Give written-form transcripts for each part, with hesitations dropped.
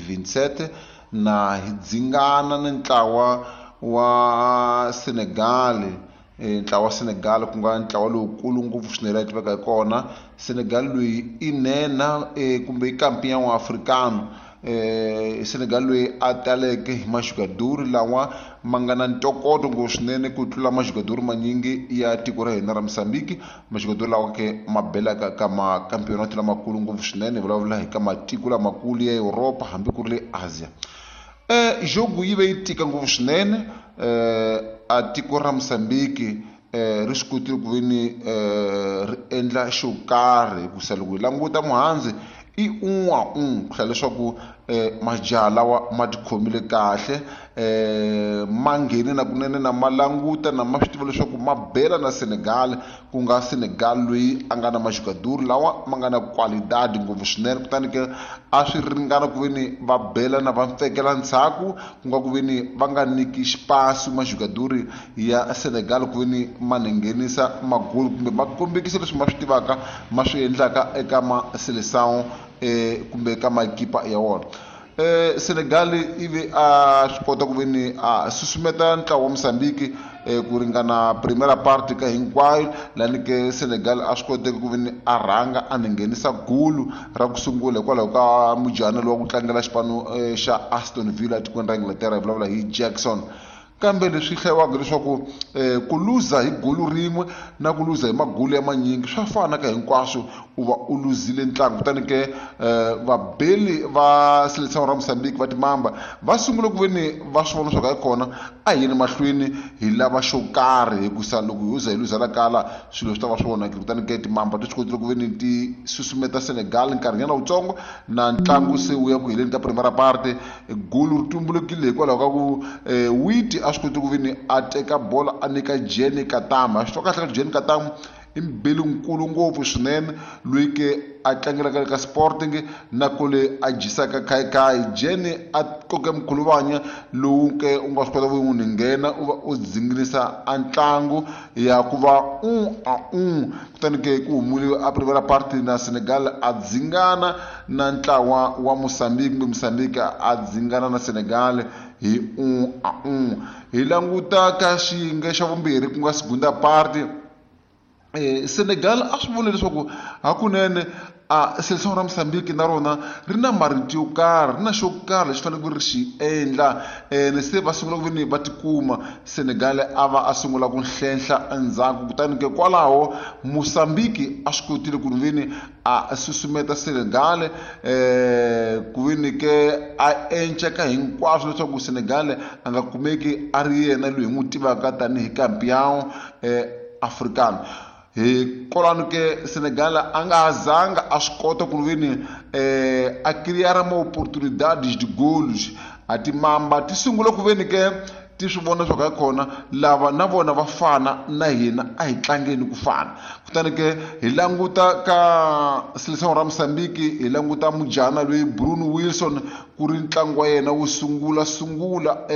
2027 na hi dzingana ni ntlawa wa Senegal, ntlawa wa Senegal ku nga ntlawa lowukulu ngopfu swinene la tiveka hi kona. Senegal loyi i nhenha kumbe i campeão africano. Senegal loyi a taleke hi majugaduri lawa ma nga na ntokoto ngopfu swinene ku tlula majugaduri manyingi ya tiko ra hina ra Mozambique. Majugaduri lawa ke ma belaka ka makampeonato lamakulu ngopfu swinene, hi vulavula hi ka matiko lamakulu ya Europa hambi ku ri le Asia. Jogo yi ve yi tika ngopfu swinene, a tiko ra Mozambique ri swi kotile ku ve ni ri endla xo karhi, hikusa loko hi languta muhandzi i un'we wa un'we ku hlaya leswaku majaha lawa ma tikhomile kahle, ma nghene na kunene na ma languta na ma swi tiva leswaku ma bela na Senegal, ku nga Senegal loyi a nga na majugaduri lawa ma nga na qualidade ngopfu swinene. Kutani ke a swi ringana ku ve ni va bela na va mpfekela ndzhaku, ku nga ku ve ni va nga nyiki xipasi majugaduri ya Senegal ku ve ni ma nghenisa magoli kumbe ma kombekisa leswi ma swi tivaka ma swi endlaka eka ma Seleção kumbe ka makipa ya wona. Senegal ivi a swi kota ku ve ni a susumeta ntlawa wa Mozambique ku ringana primera parte ka hinkwayo, lani ke Senegal a swi koteki ku ve ni a rhanga a ni nghenisa gulu ra ku sungula hikwalaho ka mujana lowa ku tlangela xipano xa Aston Villa etikweni ra Inglaterra, hi vulavula hi Jackson. Kambe leswi hlayiwaka leswaku ku luza hi gulu rin'we na ku luza hi magulu ya manyingi swa fana ka hinkwaswo, u va u luzile ntlangu. Kutani ke vabeli va Seleção ra Mozambique va timamba va sungule ku ve ni va swi vona leswaku hayi kona a hi yeni mahlweni hi lava xo karhi, hikusa loko ho za hi luza la kala swilo swi ta va swi onhakile. Kutani ke timamba ti swi kotile ku ve ni ti susumeta Senegal nkarhinyana wutsongo na ntlangu se wu ya ku heleni ka primera parte. Gulu ri tumbulukile hikwalaho ka ku Witi a swi koti ku ve ni a teka bola a nyika Jenny Katama. Swi twa kahle ka Jenny Katama i mubeli nkulu ngopfu swinene loyi ke a tlangelaka ka Sporting na kule a dyisaka khayikhayi. Jenny a koke mkhuluvanya lowu ke u nga swi kota ku n'wi nghena u va u dzinginisa a ntlangu ya ku va un a un. Kutani ke ku humile a primera parte na Senegal a dzingana na ntlawa wa Mozambique, kumbe Mozambique a dzingana na Senegal hi un a un. Hi languta ka xiyenge xa vumbirhi ku nga segunda parte, Senegal a swi vula leswaku hakunene a Seleção ra Mozambique na rona ri na marito yo karhi, ri na xo karhi lexi faneleke ri xi endla. Se va sungula ku ve ni va tikuma Senegal a va a sungula ku hlenhla endzhaku, kutani ke kwalaho Mozambique a swi kotile ku ve ni a susumeta Senegal ku ve ni ke a enca ka hinkwaswo leswaku Senegal a nga kumeki a ri yena loyi hi n'wi tivaka tanihi campeão africano. Hi kwalano ke Senegal a nga ha zanga a swi kota ku ve ni a crear ma oportunidades de golos. A timamba ti sungula ku ve ni ke ti swi vona leswaku hayi kona lava na vona va fana na hina, a hi tlangeni ku fana. Kutani ke hi languta ka Seleção ra Mozambique, hi languta mujana loyi Bruno Wilson ku ri ntlangu wa yena wo sungula sungula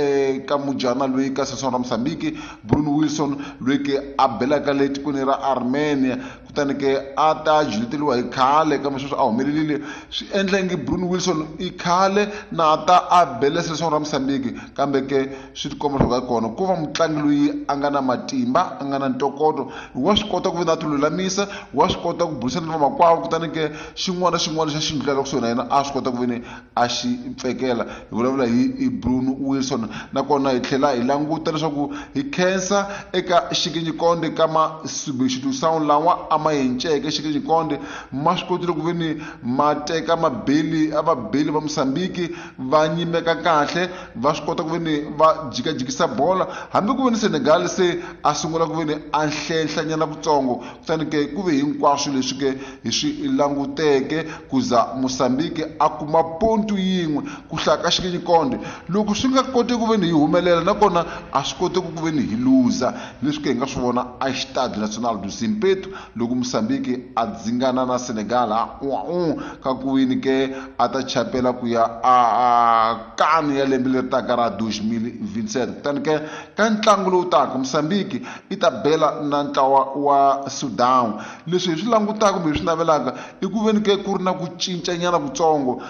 ka mujana loyi ka Seleção ra Mozambique, Bruno Wilson loyi ke a belaka le tikweni ra Armenia. Kutani ke a ta juleteriwa hi khale kambe sweswi a humelerile, swi endla ingi Bruno Wilson i khale na ta a bele Seleção ra Mozambique, kambe ke swi tikomba leswaku hayi kona ku va mutlangi loyi a nga na matimba, a nga na ntokoto, wa swi kota ku ve na ti lulamisa, wa swi kota ku burisana na vamakwavo. Kutani ke xin'wana na xin'wana lexi a xi ndlulaka kusuhi na yena a swi kota ku ve ni a xi pfekela. Hi vulavula hi Bruno Wilson. Nakona hi tlhela hi languta leswaku hi khensa eka xikinyikonde ka ma substitution lawa a ma enceke xikinyikonde, ma swi kotile ku ve ni ma teka mabeli a vabeli va Mozambique va nyimeka kahle, va swi kota ku ve ni va jikajikisa bola, hambi ku ve ni Senegal se a sungula ku ve ni a hlenhlanyana kutsongo. Kutani ke ku ve hinkwaswo leswi ke hi swi languteke ku za Mozambique a kuma pontu yin'we ku hlaya ka xikinyikonde. Loko swi nga koteki ku ve ni hi humelela, nakona a swi koteki ku ve ni hi luza, leswi ke hi nga swi vona a Estádio Nacional do Zimpeto loko Mozambique a dzingana na Senegal ha un'we ka ku wini ke a ta chapela ku ya a kani ya lembe leri taka ra 2027. Kutani ke ka ntlangu lowu taka Mozambique i ta bela na ntlawa wa Sudan. Leswi hi swi langutaka kumbe hi swi navelaka i ku ve ni ke ku ri na ku cincanyana kutsongo.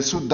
Sudan